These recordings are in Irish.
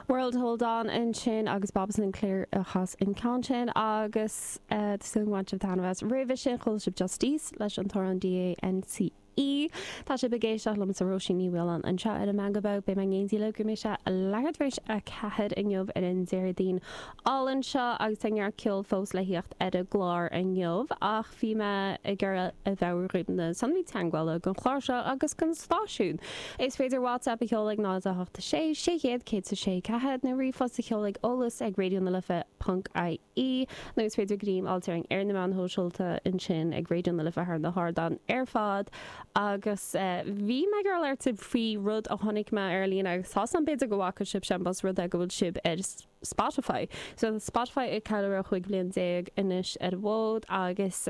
World Hold On ansin agus Bob Sinclar a chas an ceann sin agus tá súil agam gur bhain sibh taitneamh as. Roimhe sin chuala sibh Justice leis an t-amhrán DANCE. Tá sibh ag éisteacht liomsa Róisín Ní Mhaoláin anseo ar an Meangadh Beo. Beidh mé in éindí libh go mbeidh sé leathuair tar éis 4 inniu ar an Déardaoin álainn seo agus tá neart ceoil fós le thíocht ar an gclár inniu ach bhí mé ag iarraidh a mheabhrú dhaoibh na sonraí teagmhála don chlár seo agus don stáisiún. Is féidir WhatsApp a sheoladh ag 0 8 6 600 106 4 nó ríomhphost a sheoladh ag eolas ag raidionalife.ie. Nó is féidir greim a fháilt orainn ar na meáin shóisialta ansin ag Raidió na Life thar na hardáin ar fad. Agus bhí mé ag iarraidh labhairt libh faoi rud a chonaic mé ar líne agus tá 's agam b'fhéidir go bhfaca sibhse más rud é go bhfuil sibh ar Spotify. So tá Spotify ag ceiliúradh 15 bhliain anois ar an bhfód agus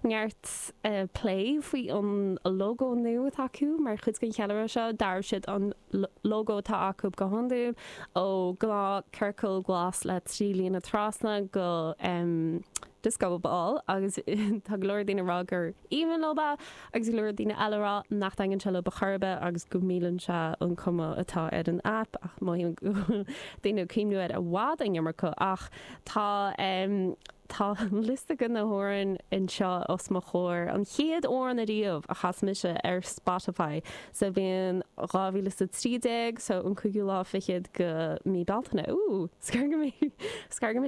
neart plé faoi an lógó nua atá acu mar chuid den cheiliúradh seo. D'athraigh siad an lógó atá acu go hiondúil ó gnáth ciorcal glas le 3 líne trasna go disco ball agus tá go leor daoine ag rá gur aoibhinn leo é agus go leor daoine eile ag rá nach dtaitníonn sé leo ar chor ar bith agus go milleann sé an cuma atá ar an aip ach mothaím go bhfuil daoine ag cuimhniú air i bhfad an iomarca ach tá Tá liosta de na hamhráin anseo os mo chomhair. An chéad amhrán ariamh a chas mise ar Spotify sa bhliain 2013, so an cúigiú lá fichead de mí Bealtaine. Ooh, scar go mbeidh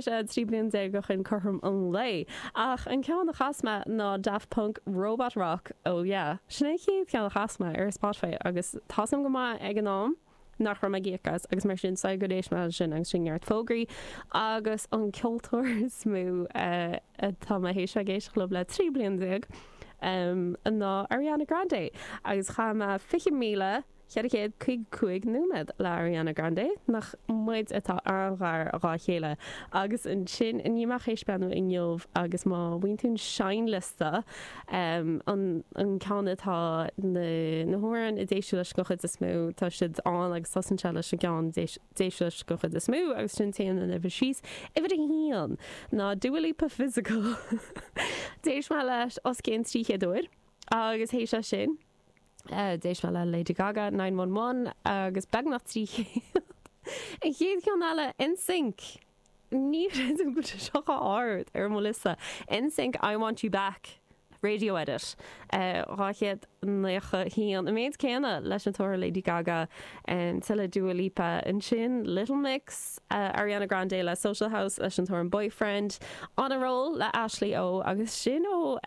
sé 13 bliain ó shin cothrom an lae. Ach an ceann a chas mé ná Daft Punk Robot Rock, oh yeah. Sin é an chéad cheann a chas mé ar Spotify agus tá 's agam go maith ag an am nach raibh mé ag íoc as agus mar sin is gur éist mé leis sin agus sin neart fógraí agus an ceoltóir is mó atá mé théis bheith ag éisteacht leo le 13 bliain ná Ariana Grande agus chaith mé 20,455 nóiméad le Ariana Grande, nach muid atá an-ghar dhá chéile. Agus ansin i ndiaidh mé théis breathnú inniu agus má bhíonn tú an seinnliosta, an ceann atá na na hamhráin a d'éist tú leis den chuid is mó, tá siad ann agus tosaíonn sé leis an gceann d'éist tú leis den chuid is mó agus sin téann an uimhir síos. Uimhir a haon ná Dua Lipa Physical. D'éist mé leis os cionn 300 uair agus théis é sin d'éist mé le Lady Gaga 911 agus beagnach 300. An chéad cheann eile NSYNC. Ní chreidim go bhfuil sé seo chomh ard ar mo liosta. NSYNC I Want You Back radio edit 291. An méid céanna leis an t-amhrán Lady Gaga, tuilleadh Dua Lipa ansin, Little Mix, Ariana Grande le Social House leis an t-amhrán Boyfriend, On a Roll le Ashley O agus sin ó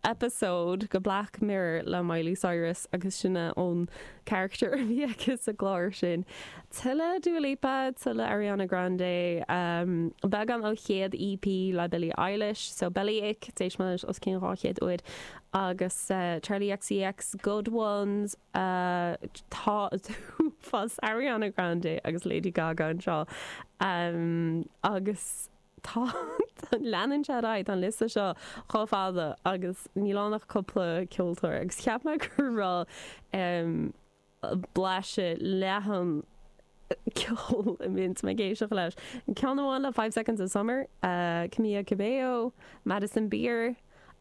episode de Black Mirror le Miley Cyrus agus sin é an character a bhí aici sa gclár sin. Tuilleadh Dua Lipa, tuilleadh Ariana Grande, beagán ó chéad EP le Billie Eilish, so Bellyache, d'éist mé leis os cionn 200 uair, agus Charli XCX, Good Ones, tá uafás Ariana Grande agus Lady Gaga anseo agus. Tá, leanann sé ar aghaidh, tá an liosta seo chomh fada agus níl ann ach cúpla ceoltóir agus cheap mé go raibh blaiseadh leathan ceoil a mbíonn mé ag éisteacht leis. Ceann amháin le Five Seconds of Summer, Camila Cabello, Madison Beer,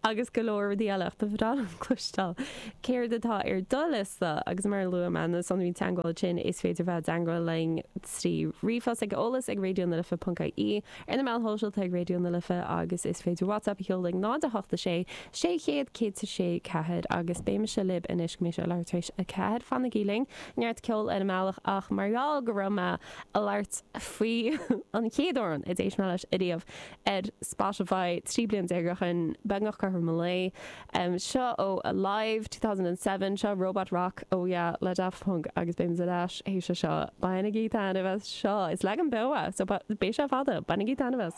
agus go leor rudaí eile ach ba bhreá liom cloisteáil céard atá ar do liosta agus mar a luaigh mé na sonraí teagmhála sin is féidir bheith i dteagmháil linn trí ríomhphost ag eolas ag raidionalife.ie, ar na meáin shóisialta ag Raidió na Life agus is féidir WhatsApp a sheoladh ag 0 8 6 600 106 4 agus beidh mise libh anois go mbeidh sé leathuair tar éis 4. Fanaigí linn, neart ceoil ar an mbealach ach mar gheall go raibh mé ag labhairt faoi an chéad amhrán a d'éist mé leis ariamh ar Spotify 13 bliain ó shin, beagnach cothrom an lae. Seo ó Alive 2007, seo Robot Rock, oh yeah, le Daft Punk agus beidh muid ar ais théis seo. Bainigí taitneamh as seo! Is leagan beo é, so beidh sé fada. Bainigí taitneamh as!